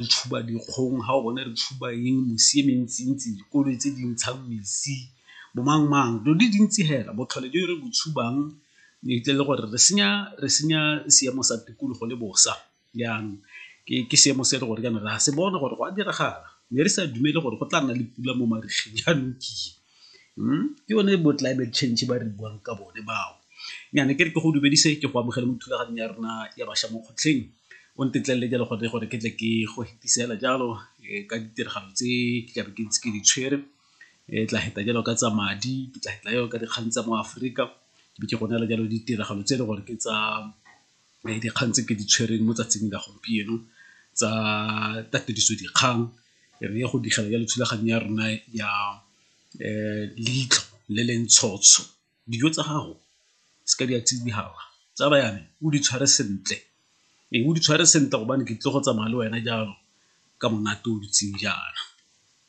Re tshuba dikgong, ga o bona re tshuba eng mosi e mentsi-ntsi, dikoloi tse di ntshang mesi bo mang-mang dilo di le dintsi fela botlhole jo re bo tshubang ntle le gore re senya seemo sa tikologo le bosa jaanong ke seemo se e le gore jaanong re a se bona gore go a diragala mme re sa dumele gore go tla nna le pula mo marigeng jaanong ke ke yone bo climate change ba re buang ka bone bao. Nnyaya ke re ke go dumedise ke go amogela mo thulaganyong ya rona ya bašwa mo kgotlheng o ntetlelele jalo gore ke tle ke go fetisela jalo ka ditiragalo tse ke tlabe ke ntse ke di tshwere tla feta jalo ka tsa madi, ke tla feta jalo ka dikgang tsa mo Aforika, ke be ke go neela jalo ditiragalo tse e le gore ke tsa dikgang tse ke di tshwereng mo 'tsatsing la gompieno tsa tatediso dikgang re ye go digela jalo thulaganyo ya rona ya Leitlho le le ntsho-tsho. Dijo tsa gago seke di a tsala ya me o di tshware sentle, ee o di tshware sentle gobane ke tlile go tsamaya le wena jalo ka monate o dutseng jaana.